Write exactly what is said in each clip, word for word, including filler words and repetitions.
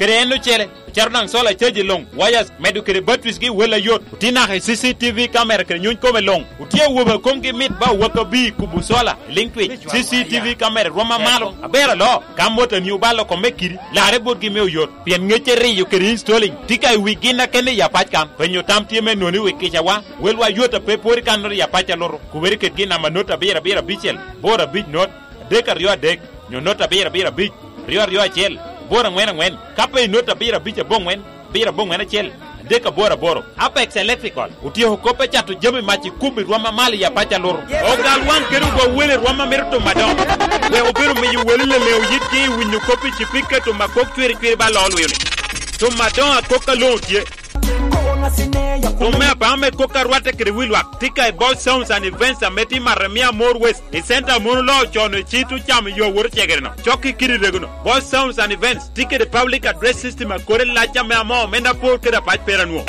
Kede en ocele, ocato daŋ sola caji luŋ, wires, medo kede batteries gi wel ayot. Otye naka i C C T V camera kede nyuny kome luŋ. Otye awobe a komgi mit ba owak abir i kubo sola, i liŋ twic. C C T V camera rwom amalo, aber aloo. Ka motoni obalo kome kidi, larre botgi me oyot. Pien ŋecce riyo kede installing tye ka i wi gin akene i apac kan. Penyo tam tye me noni wi kicawa, welwa yot a pe pwod i kannoro i apac alutu. Kubere ked gin namba not abiro abiro abicel, boro abic not, adek aryo adek, nyo not abiro abiro abic, aryo aryo acel, boro aŋwen aŋwen, ka pe i not abiro abic aboŋwen, abiro aboŋwen acel, adek aboro aboro. Apex Electrical otyeko kop me cato jami mac i kubo i rwom amalo i apac alutu. Ogal waŋ kede ogwa wele i rwom a mito timo adoŋo. Wek obedo miyo wele leleŋo yitgi i winyo kop i cipika tuma kok cwiri cwiri ba loo lwio-ni. Tuma adoŋo akok aloŋo tye. Tuma me apaŋo me kok a rwatte kede wi lwak tye ka i Boss Sounds and Events ame tye i Maremia More West, i center a mon oloo con i cit ocamo yo awot ocegere-no. Cok i kidi rego-no, Boss Sounds and Events tye kede public address system a kore lac ame amoo omenda apor kede apac pera nwo.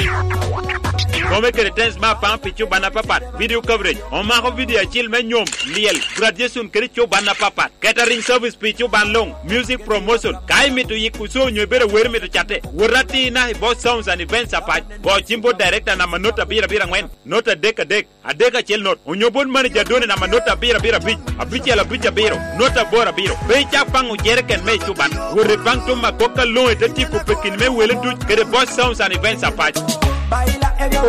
Kome kede tens me apaŋo pi cuban apapat, video coverage, omako video acil me nyom, lyel, graduation kede cuban apapat, catering service pi cuban luŋ, music promotion. Ka imito yiko show onyo ibedo awero imito catte, wot atir naka i Boss Sounds and Events apac. Go cim bot director namba not abiro abiro aŋwen, not adek adek, adek acel not, onyo bot manager done namba not abiro abiro abic, abicel abic abiro, not aboro abiro. Pe icak paŋo jereken me ecuban. Wot ipaŋ tuma kok aloŋo ite tiko pekini me wele duc kede Boss Sounds and Events apac.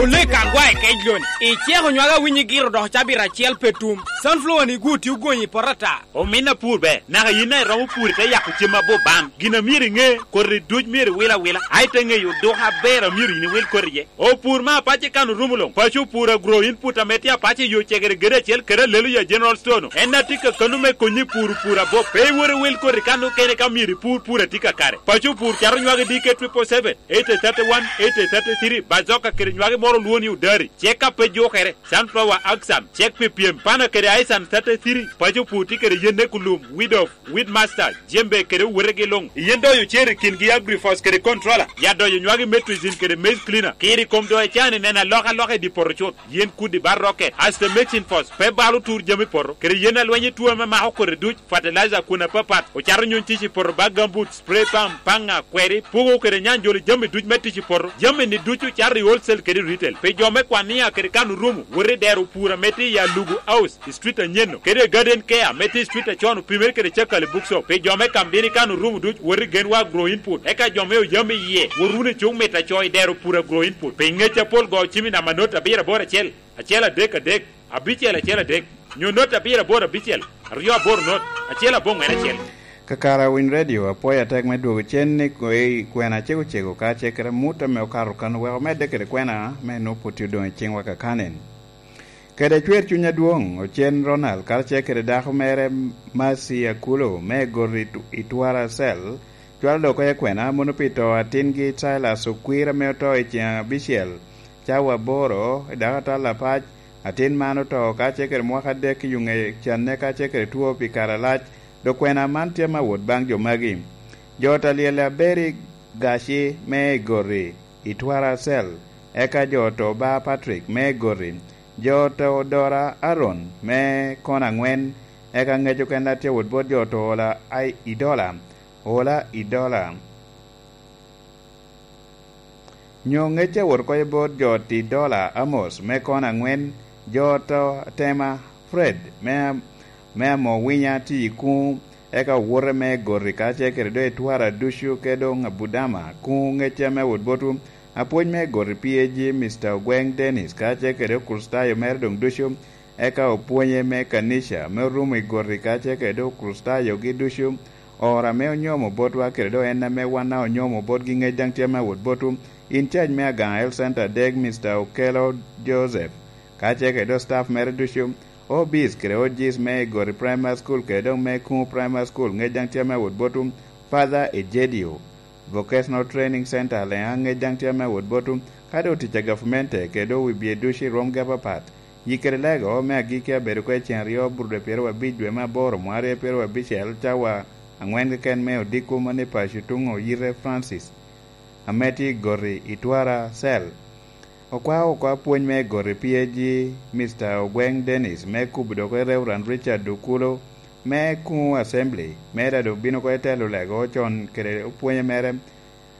Olek agwa i kec loni. Iceko nywaka winyi giro dok cabit acel pe tum. Sunflower ni guti ogonyi i poto ata. Omin apur ber, naka yin a iromo pur ite yako cem abor baŋ. Gin a myero iŋe, koti duc myero iwil awila, a ite ŋeyo oduka aber a myero yin iwil koti iye. Opur me apac i kan orumo luŋ. Paco opur agro input ame tye apac i yo cegere gede acel kede alelo ya General Store-nu. En a tye ka kano me konyi i pur pur abop. Pe iwot iwil koti kan okene ka myero ipur pur a tye kakare. Paco opur cato nywagi D K triple seven, eight thirty-one, eight thirty-three, bazoka kede nywagi moro olwoni odari. Cek ka pe jukere, sunflower action, cek pi pyem, pana kede aisan thirty-three, paco opur tye kede yen ne kulum, weed off, Weedmaster, jembe kede owotegi luŋ. Yen doyo cer i kingi agrifos kede controller. Ya doyo nywagi metricin kede maize cleaner. Kiri kom doyo can i neno alokaloka i dye poto cut. Yen kudi ba rocket. Aste mexin fos, pe balo tur jami poto. Kede yen alweny i tuo ame mako kodi duc. Fertilizer kun apapat. Ocato nyuny tic i poto ba gambut, spray pump, paŋa, kweri, pugo kede nyanjolo jami duc me tic i poto. Jami ni ducu cato i wholesale kede retail. Pi jo me kwania kede kan orumo, wot i dero pur ame tye i Alugu House. I street anyen-nu, kede Garden Care me tye i street acon opimere kede Cakali Bookshop. Pi jo me Kambini kan orumo duc, wot i Genwa Agro Input. Eka jo me Oyam iye, wot wunu i Cuk Mit Aco i dero pur Agro Input. Pi ngec apol go cim i namba not abiro aboro acel, acel adek adek, abicel acel adek, nyo not abiro aboro abicel, aryo aboro not, acel aboŋwen acel. Kakare Winy Radio, apwoyo atek me dwogo cen ni kwe-, kwena cego cego ka ce kede mut ame okato kan oweko medde kede kwena me nwoŋo pwod tye odoŋ i ciŋwa kakanen. Kede cwer cuny adwoŋ, ocen Ronald karacel kede dako mere Mercy Akulo me Gori tu-, i Twara Cell, cwalo dok oko i kwena mono pi to atingi Silas Okwir ame oto i ceŋ abicel, cawa aboro, i dako atal apac. Atin man oto karacel kede mwaka adek i yuŋe canne karacel kede two pi kare alac, dok kwena man tye me wot baŋ jo magi. Jo ot alyel Aberi Gaci me Gori i Twara Cell, eka jo oto ba Patrick me Gori, jo oto Dora Aaron me Kona Angwen, eka ngec okene tye wot bot jo oto Ola ai-, Idola, Ola Idola. Nyo ngecce wot oko i bot jo oto Idola Amos me Kona Angwen, jo oto Tema Fred me, me Amowinya tye i kuŋ, eka owote me Gori karacel kede doŋ Etwara ducu kede doŋ Abudama kuŋ ŋecce ame wot botwu. Apwony me Gori P A G, Mister Ogweng Dennis, karacel kede Okricitayo mere doŋ ducu, eka opwonye me kanica me orumo i Gori karacel kede Okricitayogi ducu, oro ame onyomo botwa kede doŋ en ame wan daŋ onyomo botgi ŋec daŋ tye ame wot botwu. In cac me Agaŋa Health Center dek, Mister Okelo Joseph, karacel kede doŋ staff mere ducu, O Bs kede O Gs me Igori Primary School kede doŋ me Kuŋu Primary School ŋec daŋ tye ame wot botwu, Father Ejedio, Vocational Training Center Leŋa ŋec daŋ tye ame wot botwu, ka doŋ tic a gavmente kede doŋ wi bye ducu i rwomgi apapat. Yik kede lego me agikki abedo oko i ceŋ aryo, Aburude pyeraryo abic dwe me aboro, mwaka aryo pyeraryo abicel, cawa aŋwen keken me odiko mano i paco tuŋ Oyite Francis, ame tye i Goti i Twara Cell. Okwao oko apwony me Goti P A G, Mister Ogweng Dennis, me kubo dok i Reverend Richard Okulo, me Kuŋu Assembly, me daŋ obino oko i telo lego con kede opwonye mere,